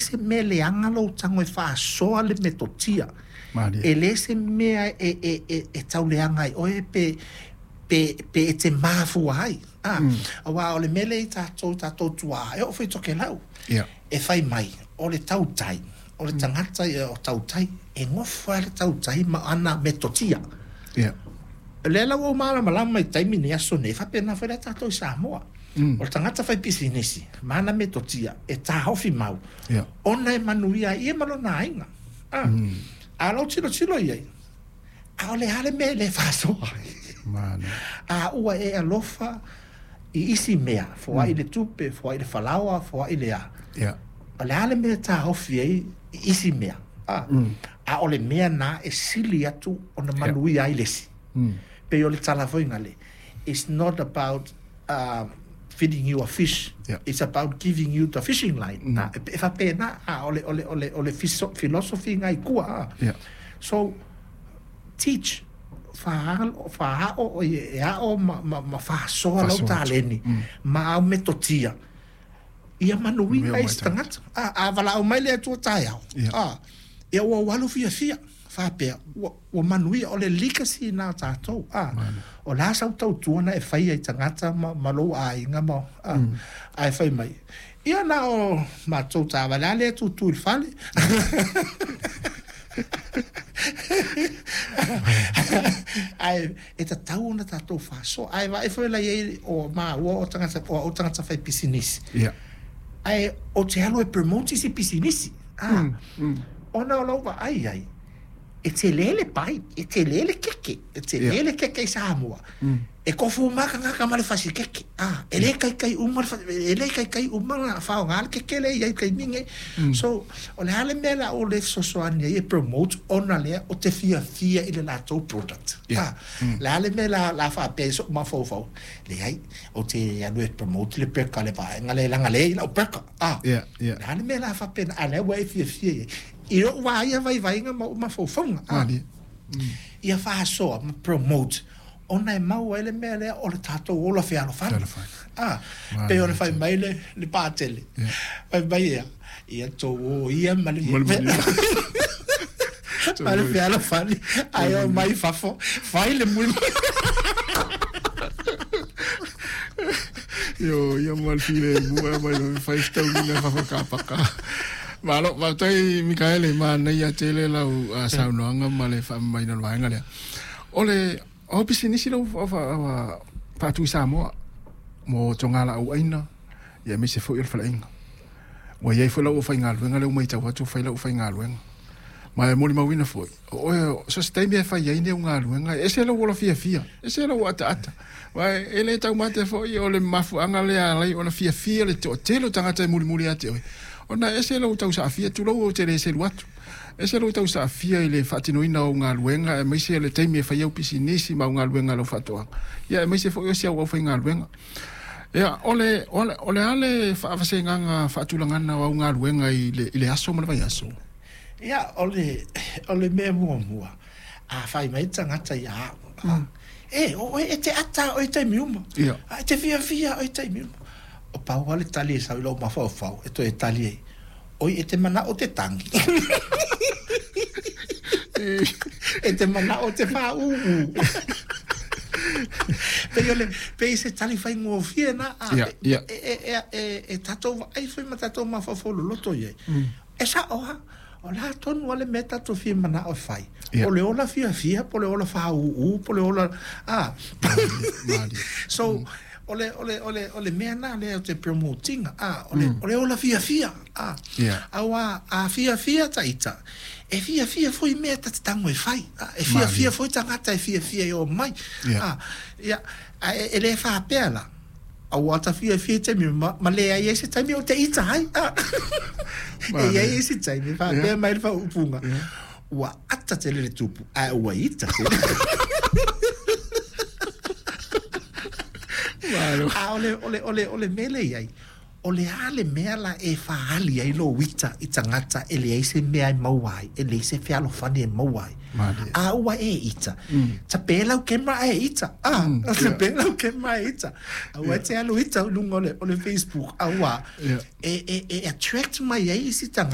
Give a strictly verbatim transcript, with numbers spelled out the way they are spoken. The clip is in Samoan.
se mea leaga lou tago e faasoa le metotia. Malie. E le se mea e, e, e, e tauleaga ai oe pe pe pe e te mafua ai. Ah, mm. Auā o le mea lea i tatou tatou tuā, e oo foi i Tokelau. Yeah. E fai mai, o le tautai, o le tagata ia o tautai, e gofo lava le tautai ma ana metotia. Yeah. O lea la ua ou malamalama i taimi nei, aso nei, e faapena foi la tatou i Samoa. Mm. O le tagata faipisinisi, ma ana metotia, e taofi mau, Yeah. ona e manuia ai ia ma lona aiga. Ah. Mm. A lou tilotilo i ai, ʻaʻole lava le mea e le faasoa ai. Malie. A ua e alofa i isi mea, foai le tupe, foai le falaoa, foai le a. Yeah. O le a le mea e taofi ai i isi mea. A, Mm. a o le mea na e sili atu ona manuia ai le isi. Mm. Pei o le tala foi gale. It's not about uh, feeding you a fish. Yeah. It's about giving you the fishing line. Mm. Ah, e faapena, ah, o le, o le, o le, o le fiso- philosophy ngai kua. Ah. Yeah. So, teach faalo faao o e ao ma ma, ma faasoa lau Faasoa atu. taleni Mm. ma au metotia ia manuia Mea ai mai se tagata a a valaau mai le Atua taeao Ia. a ia ua ou alu fiafia faapea ua ua manuia o le legacy na tatou a o le a sau tautua na e faia i tagata ma ma lou aiga ma a ae fai mai ia na o matou taavale a lea e tutu i le fale ae e tatau ona tatou faasoa ae vaai foi la i ai o maua o tagata o au tagata faipisinisi Yeah. ae o te alu e promote isi pisinisi a Mm. Mm. ona o lau vaai ai e tele le pai e tele le keke e tele Yeah. le keke i Samoa Mm. e kofu uma tagata ma le fasi keke a e le kaikai uma le fa- e le kaikai uma na faaaoga le keke le i ai taimi nei Mm. so o le a le mea la o le fesoasoani ai e promote ona lea o te fiafia i le latou product Yeah. a le a le mea la la faapea i so'u mafaufau leai o te alu e promote le peka le vaega le laga leai la'u peka a Yeah. Yeah. le a le mea la faapena a lea ua e fiafia i ai i lo'u vā ia vaivaiga ma o'u mafaufauga a Malie. ia faasoa ma promote ona e maua ai le mea lea o le tatou ola fealofani Fealofani. a Malie pei ona fai mai le le patele Yeah. fai mai ia ia tou o ia ma le Ma le manuia. ma le fealofani ae o mai fafo fai le mui Io ia mo le file mu e mai le fai fetaui le fafo kapaka. Malo, faafetai Mikaele manaia tele lau ah, saunoaga ma le faamamaina o le vaega lea. O le o pisinisi lau faatu i Samoa mo togalaau aina ia aemaise foi o le faleaiga. Ua iai foi lau aufaigaluega lea ua matau atu fai lau aufaigaluega. Ma e molimauina foi, o oe so se taimi e fai ai nei au galuega, e ese lou ola fiafia, ese lou ataata. Ua e le taumate foi o le mafuaaga lea alai ona fiafia le toatele o tagata e mulimuli ia te oe. Ona ese lou tausaafia tulou ou te le selu atu. Ese lou tausaafia i le faatinoina o galuega aemaise le taimi e fai au pisinisi ma au galuega a lau faatoaga. Ia aemaise foi o si au aufaigaluega. Ia, o le, o le, o le a le faavasegaga faatulagana o au galuega i le, i le aso ma le vaiaso. Ia o le o le mea muamua a fai mai tagata ia a'u a e o oe e te ata oe i taimi uma Ia. a e te fiafia oe i taimi uma o pau lava le tali e sau i lou mafaufau e toe tali ai oi e te mana'o te tagi e te mana'o te fāūū pei o le pei se tali faigofie na a Ia, ia. e e e e e tatou vaai foi ma tatou mafaufau loloto i ai e sa'o a o le a tonu a le mea tatou fia mana'o e fai Ia. o le ola fiafia po o le ola fāūū po o le ola a Malie. so o le o le o le o le mea na lea o te promotinga a o le o le ola fiafia a Ia. auā a fiafia taʻita e fiafia foi mea ta te tago e fai a e fiafia Malie. foi tagata e fiafia e o mai Ia. a ia a e, e lē faapea la auā ta fiafia i taimi ma, ma leai ai se taimi o te ita ai a e Malie. iai ai se taimi faapea Ia. mai le faaupuga Ia. ua ata tele le tupu ae ua ita tele Malo. a o le o le o le o le mea lea i ai o le a le mea la e faaali ai lou ita i tagata e leai se mea e maua ai e leai se fealofani e maua ai Malie. a ua e ita tapē lau kemera ae ita a Mm, tapē lau kemera ae ita aua e te alu ita i luga o le o le Facebook auā Ia. e e e attract mai ai isi tagata